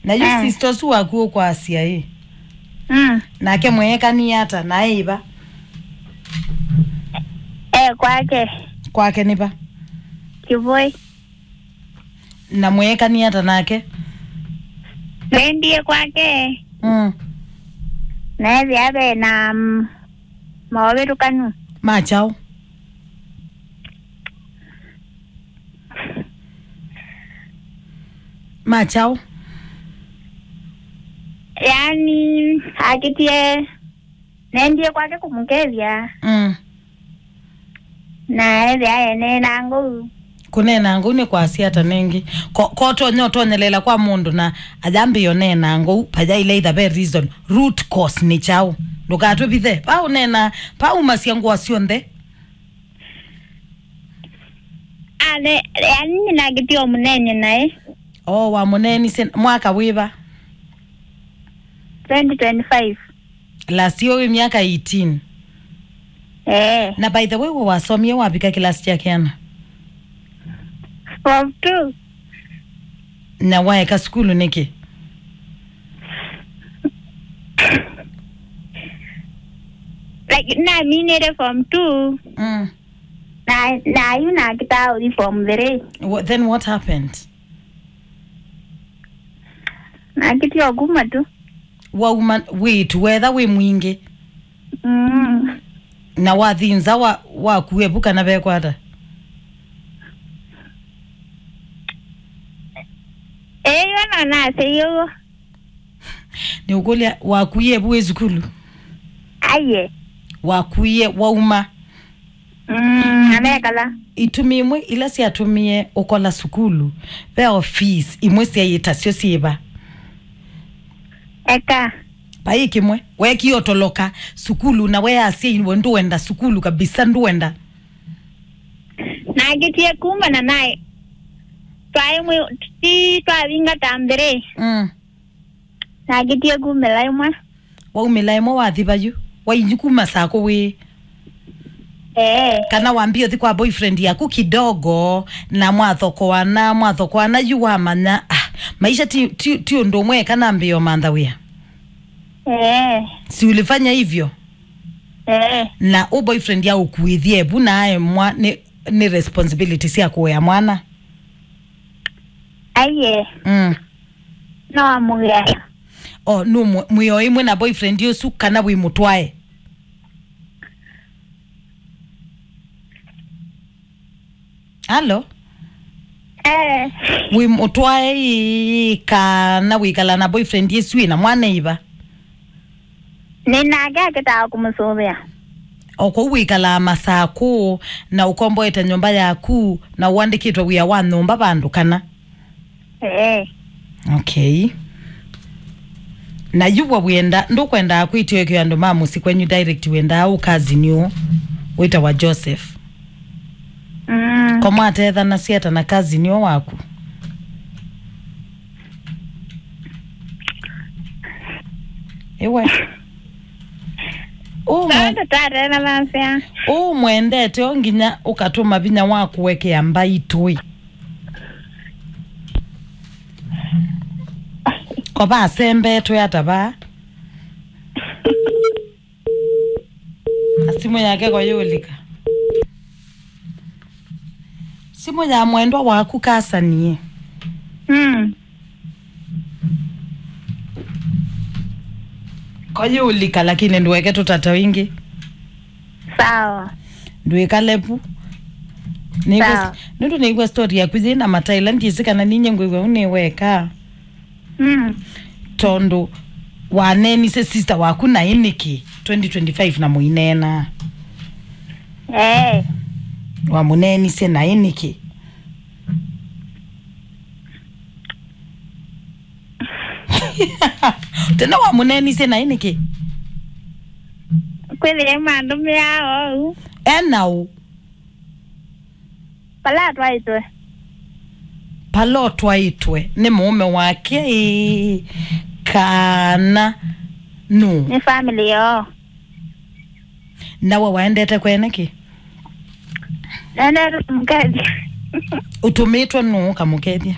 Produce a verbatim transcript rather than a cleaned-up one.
Na yu, ah, sister ũsu waku ũkwasya ĩ? Mm. Nake mweekanie ata? Na e ĩva? E kwake. Kwake nĩ va? Kĩvũĩ. Na mweekanie ata nake? Nendie kwake. Mm. Na ethĩa ve na, mm, maũvĩtũkanu. Ma kyaũ? Ma kyaũ? Yaani, akĩtie, nendie kwake kũmũkethya. Mm. Na ethĩa ene na ngũu. Kũneena ngũu nĩ kwasya ata nĩngĩ? Ko, ko ũtonya ũtonyelela kwa mũndũ na ayambĩĩa ũneena ngũu, vayaĩle either ve reason, root cause nĩ kyaũ? Ndũkatũvithe. Pa ũneena, pa umasya ngũa syonthe. Ale, yaani nĩnakĩtie ũmũneenye naĩ. O, wamũneenisye mwaka wĩva? Twenty twenty-five. Last year wĩ myaka eighteen. Eh. Na by the way, we wasomie wavika kĩlasi kya kĩana? Form two. Na waeka sukulu nĩkĩ? Like, naminĩte form two. Mm. Na, na yu nakĩtaa ũthi form three. Wha-, then what happened? Nakĩtie o kuma tu. Wauma wĩtu wetha wĩ mwingĩ. Mm. Na wathi nza wa, wakuie vu kana vekwata? Ĩĩ, yo no nasei ũguo. Nĩũkũlya, wakuie vu wĩ sukulu? Aiye. Wakuie wauma? Mm, amekala. Itumi imwe ila syatũmie ũkola sukulu, ve ofisi imwe syaĩ tasyo syĩva? Eka. Vai kĩmwe wekie ũtoloka sukulu na weasya iwe ndũenda sukulu kabisa, ndũenda. Nakĩtie kuma na naĩ. Twaĩ mwi-, ti twavinga ta mbere. Mm. Nakĩtie kumĩla ĩmwe. Waumĩla ĩmwe wathi vayu? Wainyu kuma saa kũũ wĩ? Eh. Kana wambie ũthi kwa boyfriend yaku kidogo, na mwathokoana, mwathokoana yu wamanya, ah, maisha ti, ti, ti ũndũ ũmwe kana mbio mantha wĩa? Eh. Si ulifanya hivyo? Eh. Na ũ boyfriend ya ũkuĩthie vu na aemwa nĩ, nĩ responsibility sya kũea mwana? Aiye. Mm. No amũgea. O, nũ mwe-, mwĩ o ĩmwe na boyfriend ũsu kana wĩ mũtwae? Alo? Eh. Wĩ mũtwae ĩĩ kana wĩkala na boyfriend ĩsu ĩna mwana ĩva? Nĩ nake akĩtaa kũmũsũvĩa. O kũu wĩkalaa masaa kũũ na ũkomboete nyũmba yaku na ũandĩkĩtwe wĩa wa nyũmba vandũ kana? Ee. Okay. Na yu wa wĩenda, ndũkwendaa kwĩtĩkĩa andũ ma mũsyĩ kwenyu direct, wĩendaa ũ cousin ũũ wĩtawa Joseph? Mm. Ko mwatethanasya ata na cousin ũũ waku? Ĩwe. Ũũ mwe-, tũtatena masya. Ũũ mwendete o nginya ũkatũma vinya wa kũekea mbaitũ ĩ. Ko vasembetwe ata vaa? Na simũ yake ko yũlika. Simũ ya mwendwa waku kasanie. Mm. Ko yũlika, lakini ndũeke tũtate ĩngĩ. Sawa. Ndwĩkale vu. Nĩngwĩs-, sawa. Nũndũ nĩigua story yaku yĩ na mataila, ndyĩsĩ kana ninyie ngwĩw'a ũnĩweka. Mm. Tondũ waneenisye sister waku naĩ nĩkĩ twenty twenty-five na mũineena? Eh. Wamũneenisye naĩ nĩkĩ? Tena wamũneenisye naĩ nĩkĩ? Kwĩthĩa mandũmĩaa ou. Ena ũ? Pala atwaĩtwe. Pala ũtwaĩtwe nĩ mũũme wake ĩĩ, kana nũ? Nĩ family yoo. Na we waendete kwene kĩ? Nendete kũmũkethya. Ũtũmĩtwe nũ ũkamũkethya?